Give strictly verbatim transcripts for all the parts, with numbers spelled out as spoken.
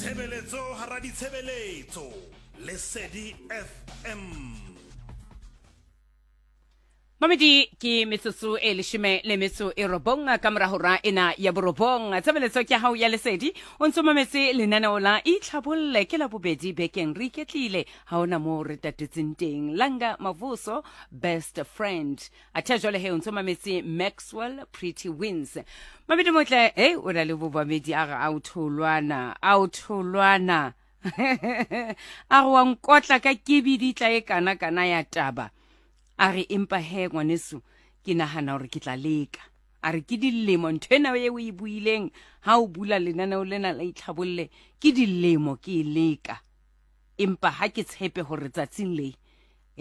Tshebeletso hara ditshebeletso Lesedi F M. Mamedi ke metsotso e leshome le metso e robong ka mora hora ena ya borobong. Tshebeletso ke hao ya Lesedi, o ntso mametse lenaneo la Itlhabolle ke la bobedi bekeng re iketlile, ha hona moo re tatetseng teng. Langa Mavuso Best Friend. Athe jwale he o ntso mametse Maxwell Pretty Wins. Mamedi motle, hey o na le bobamedi a re a o tholwana, a o tholwana. A re wa nkotla ka kebidi tla e kana kana ya taba. A re empa he ngwaneso ke nahana hore ke tla leka. A re ke dilemo ntho ena e o e buileng ha o bula lenaneo lena la Itlhabolle, ke dilemo ke e leka. Empa ha ke tshepe hore tsatsing le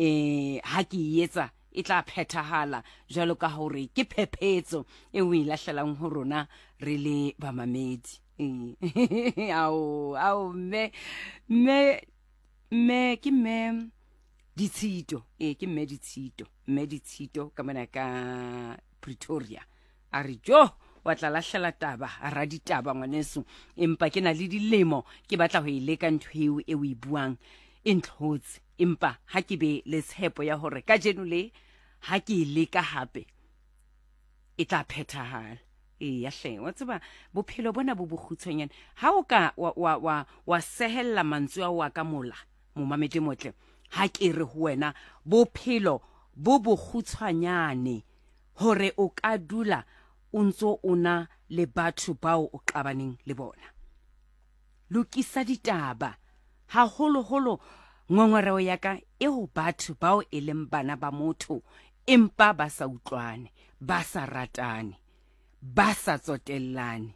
eh ha ke e etsa e tla phethahala jwalo ka hore ke phephetso e o e lahlelang ho rona re le bamamedi. Eh ao ao mme mme mme ke mme Ditshito, eh ke mme Ditshito, mme Ditshito ka mona ka Pretoria. A re jo wa tla lahlela taba, a ra ditaba ngwaneso, empa ke na le dilemo ke batla ho e leka ntho eo e o e buang e ntlhotse, empa ha ke be le tshepo ya hore kajeno le ha ke e leka hape e tla phethahala. Eya hle, wa tseba bophelo bona bo bokgutshwanyane, ha o ka wa wa wa, wa sehella mantswe ao a ka mola momamedi motle, ha ke re ho wena bophelo bo bokgutshwanyane hore o ka dula o ntso o na le batho bao o qabaneng le bona. Lokisa ditaba haholoholo, ngongoreo ya ka e ho batho bao e leng bana ba motho empa ba sa utlwane, ba sa ratane, ba sa tsotellane.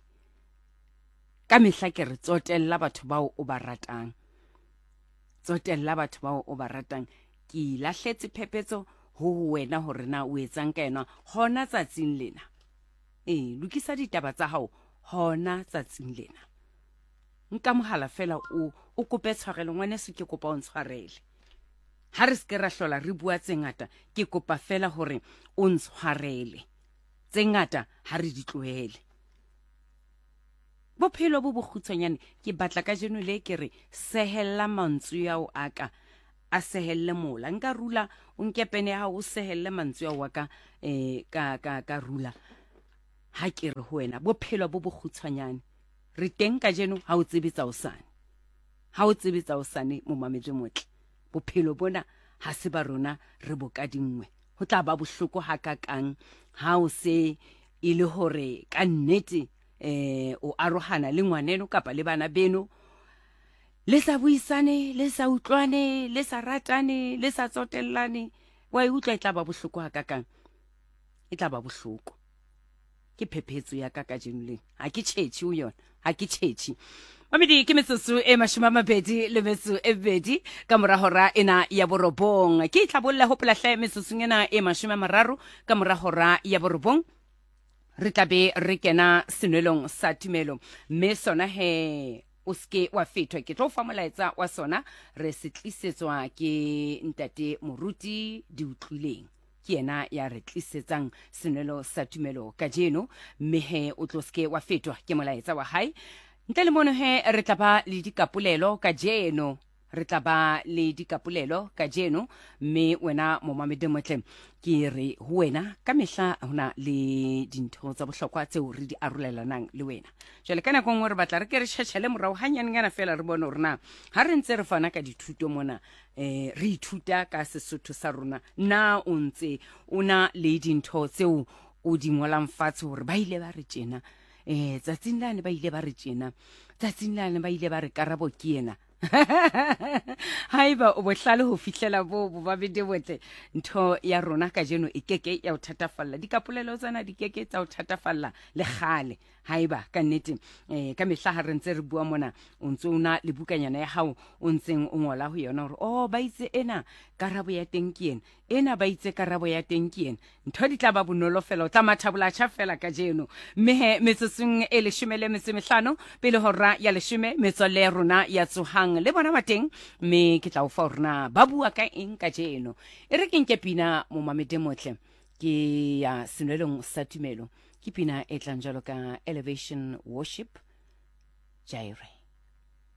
Ka mehla ke re tsotella batho bao o ba ratang, tsotella batho bao o ba ratang. Ke lahletse phephetso ho wena hore na o etsang ka yona hona tsatsing lena. Eh lokisa ditaba tsa hao hona tsatsing lena. Nka mohala fela o o kope tshwarelo, ngwaneso ke kopa o ntshwarele. Ha re se ke ra hlola re bua tse ngata, ke kopa fela hore o ntshwarele. Tse ngata ha re di tlohele. Bophelo bo bokgutshwanyane, ke batla kajeno le ke re sehella mantswe ao a ka, a sehelle mola. Nka rula, o nke pene ya hao o sehelle mantswe ao a ka, eh, ka, ka, ka rula. Ha ke re ho wena bophelo bo bokgutshwanyane, re teng kajeno ha o tsebe tsa hosane. Ha o tsebe tsa hosane momamedi motle, bophelo bona ha se ba rona re bo kadingwe. Ho tla ba bohloko hakakang ha o se e le hore ka nnete eh o arohana le ngwaneno kapa le bana beno, le sa buisane, le sa utlwane, le sa ratane, le sa tsotellane. Wa e utlwa e tla ba bohloko hakakang, e tla ba bohloko. Ke phephetso ya ka kajeno lena, ha ke tjhetjhe ho yona, ha ke tjhetjhe. Mamedi ke metsotso e mashome a mabedi le metso e mebedi ka mora hora ena ya borobong. Ke Itlhabolle, hopola hle metsotsong ena e mashome a mararo ka mora hora ya borobong re tla be re kena senwelong sa tumelo, mme sona he o seke wa fethwa. Ke tlo fa molaetsa wa sona, re se tlisetswa ke ntate Moruti Diutlwileng, ke yena ya re tlisetsang senwelo sa tumelo kajeno, mme he o tlo seke wa fetwa ke molaetsa wa hae. Ntle le mono he re tla ba le dikapolelo kajeno, re tla ba le dikapolelo kajeno, mme wena momamedi motle ke re ho wena ka mehla hona le dintho tsa bohlokwa tseo re di arolelanang le wena. Jwale ka nako nngwe re batla re ke re tjhetjhele morao hanyanenyana fela re bone hore na ha re ntse re fana ka dithuto mona, eh re ithuta ka Sesotho sa rona, na o ntse o na le dintho tseo o di ngolang fatshe hore ba ile ba re tjena, eh tsatsing lane ba ile ba re tjena, tsatsing lane ba ile ba re karabo ke ena. Haeba o bohlale ho fihlela bo bo babedi botle, ntho ya rona kajeno e keke ya o thatafalla, dikapolelo tsena di keke tsa o thatafalla le kgale. Haeba ka nnete eh ka mehla ha re ntse re bua mona o ntse o na le bukanyana ya hao o ntseng o ngola ho yona hore oh ba itse ena karabo ya teng ke ena, ena ba itse karabo ya teng ke ena, ntho di tla ba bonolo fela, o tla mathabola tjha fela kajeno. Mme he metsotsong e leshome le metso e mehlano pele hora ya leshome, metswalle ya rona ya Tsohang le bona ba teng, mme ke tla o fa hore na ba bua ka eng kajeno. E re ke nke pina momamedi motle, ke ya senwelong sa tumelo, ke pina e tlang jwalo ka Elevation Worship Jireh.